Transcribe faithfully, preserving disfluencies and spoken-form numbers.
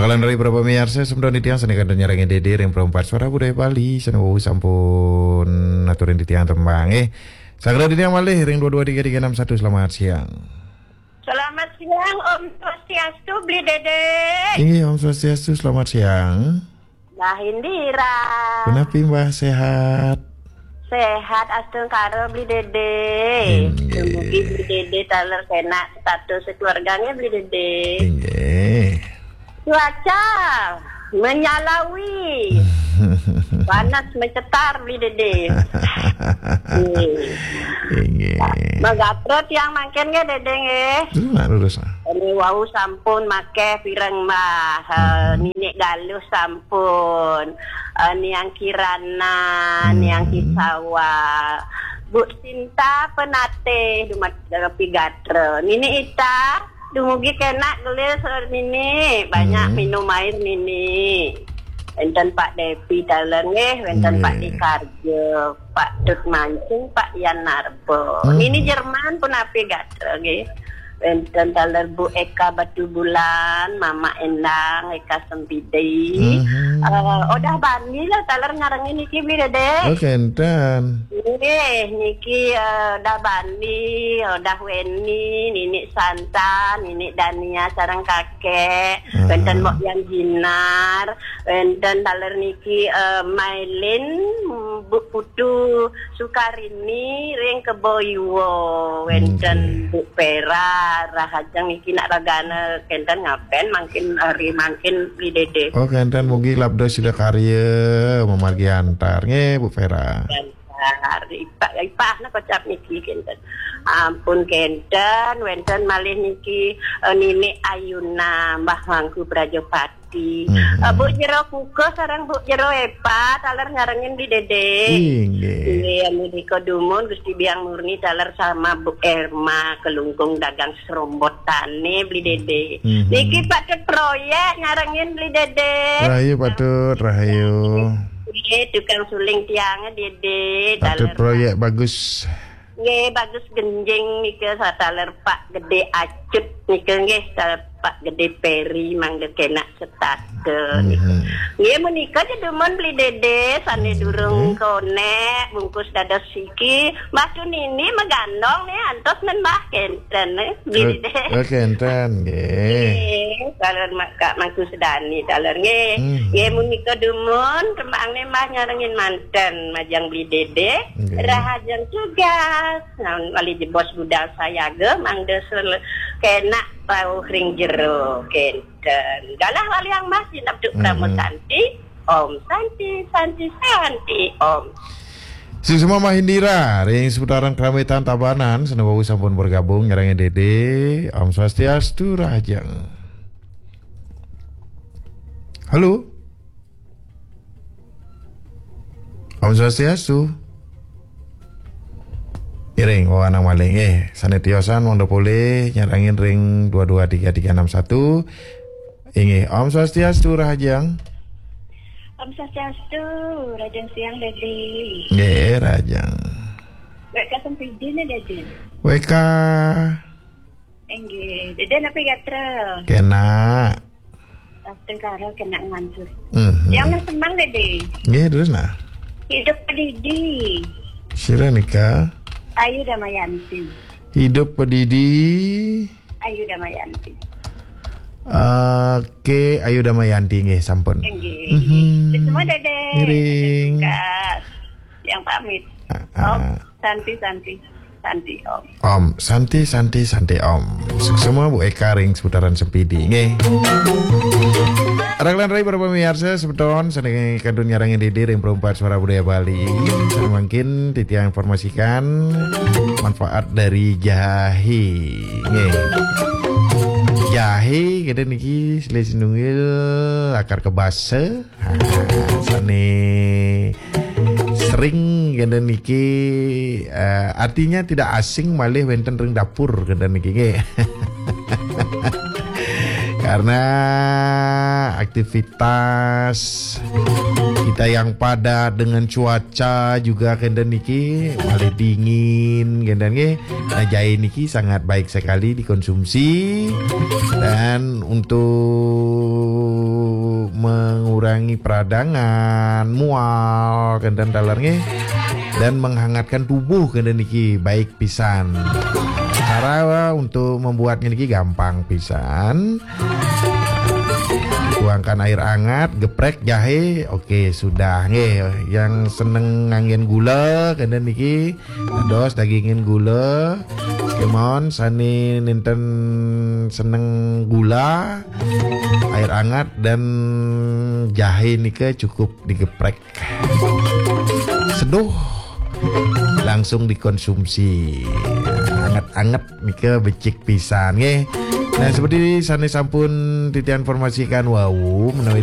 Kalan rai para pamiarsa, semeton titiang sané kantun nyarengin Dédé ring Perempat Suara Budaya Bali, sané wau sampun aturin titiang tembang, eh. Sagrada titiang malih ring dua dua tiga tiga enam satu, selamat siang. Selamat siang, Om Swastiastu, Bli Dédé. Inggih, Om Swastiastu, selamat siang. Mbah Indira. Punapi, Mbah, sehat? Sehat, astungkara, Bli Dédé. Inggih. Dumugi Bli Dédé taler kenak status keluarganya, Bli Dédé. Inggih. Cuaca menyalawi. Panas mencetar, Bli Dédé. Nggih. Inggih. Magatra tiang mangkin nggih, Dédé nggih. Terus nak lurus, ah. Ini wau sampun makéh pireng, Mbah. Eh, Mhm. Ninik Galuh sampun. Eh, Niang Kirana, Niang Mhm. Kisawa. Bu Sinta Penatih, dumat Rapi Gatra. Ninik Ita, dumugi kenak gelis, eh, Ninik. Banyak Mhm. minum air, Ninik. Wénten Pak Depi taler nggih, wénten Pak Nggih. Dikarjo, Pak Tut Mancing, Pak Yan Narba. Mhm. Ninik Jerman punapi gatra nggih. Wénten taler Bu Eka Batubulan, Mama Endang, Eka Sempidi. Mhm. Eh, Odah Bani lah taler nyarengin niki, Bli Dédé. Oh, kénten. Nggih, niki, eh, Odah Bani, Odah Weni, Ninik Santa, Ninik Dania sareng kakek. Aha. Wénten Mbok Yang Jinar, wénten taler niki, eh, Mailin, Bu Putu Sukarini ring Kebo Iwa, wénten Nggih. Bu Pera, rahajeng niki nak ragana kénten ngapen mangkin hari mangkin, Bli Dédé. Oh, kénten mugi labda sida karya mamargi antar. Nggih, Bu Pera. Antar. Ipah, ipah nak kocap niki kénten. Ampun kénten, wénten malih niki, eh, Ninik Ayuna, Mbah Mangku Prajapati. Mhm. Eh, Bu Jero Kukuh sareng Bu Jero Epa, taler nyarengin Bli Dédé. Inggih. Inggih, menika dumun Gusti Biang Murni taler sama Bu Erma, Kelungkung dagang serombotane Bli Dédé. Mhm. Niki patut proyek nyarengin Bli Dédé. Rahayu patut, rahayu. Nggih, tukang suling tiange Dédé, patut taler proyek bagus. Nggih, bagus genjing nika, sataler Pak Gede Acut nika nggih, sataler Pak Gede Peri mangda kenak setata nika. Mhm. Nggih, menika ja dumun Bli Dédé, sane Nggih. durung konek, bungkus dados siki, Mbah Tunini magandong nih, antos men Mbah kenten nih, Bli Dédé. Oke, enten, nggih. Nggih, taler Mak-, Kak Mangku Sedani, taler nggih. Mhm. Nggih, menika dumun, tembangne Mbah nyarengin manten, majeng Bli Dédé, Nggih. rahajeng tugas. Nah, wali jebos budal sayaga, mangda sel-, kenak rauh ring jero, kenten. Galah waliang Mbah, sineb duk Prama Mm-mm. Santi. Om Santi, Santi, Santi, Om. Suksma Mbah Indira, ring seputaran Kramaitan Tabanan, sane wau sampun bergabung, nyarengin Dédé. Om Swastiastu, rahajeng. Halo? Om Swastiastu. Iring, oh, anang maling. Eh, sane tiosan mangda polih nyarengin ring dua dua tiga tiga enam satu. Inggih, Om Swastiastu, rahajeng. Om Swastiastu, rahajeng siang, Dédé. Nggih, rahajeng. W K Sempidi nih, Dédé. W K. Inggih, Dédé napi gatra? Kenak. Astungkara kenak ngantuk. Mhm. Yang senang, Dédé. Nggih, terus nah. Hidup Padidi. Sira nika? Ayu Damayanti. Hidup Padidi. Ayu Damayanti. Oke, Ayu Damayanti nggih, sampun. Nggih. Mhm. Semua, Dédé. Ngiring. Yang pamit. Ah, ah. Om Santi, Santi, Santi, Om. Om Santi, Santi, Santi, Om. Suksma Bu Eka ring seputaran Sempidi, nggih. Raglan rai para pamiarsa, semeton sane kantun nyarengin Dédé ring Perempat Suara Budaya Bali. Mangkin titiang informasikan manfaat dari jahe. Nggih. Jahe kenten niki silih sinunggil akar kebasa. Ha, sane sering kenten niki, eh, artinya tidak asing malih wenten ring dapur kenten niki nggih. Karena aktivitas kita yang padat dengan cuaca juga kenten niki malih dingin kenten nggih. Nah, jahe niki sangat baik sekali dikonsumsi dan untuk mengurangi peradangan, mual, kenten taler nggih. Dan menghangatkan tubuh kenten niki baik pisan. Cara untuk membuatnya niki gampang pisan. Tuangkan air hangat, geprek jahe, oke sudah nggih. Yang seneng nganggen gula kenten niki, dados dagingin gula. Kemon sane nenten seneng gula, air hangat dan jahe nika cukup digeprek. Seduh, langsung dikonsumsi. Anget-anget nika becik pisan nggih. Nah, seperti sane sampun titiang informasikan wau menawi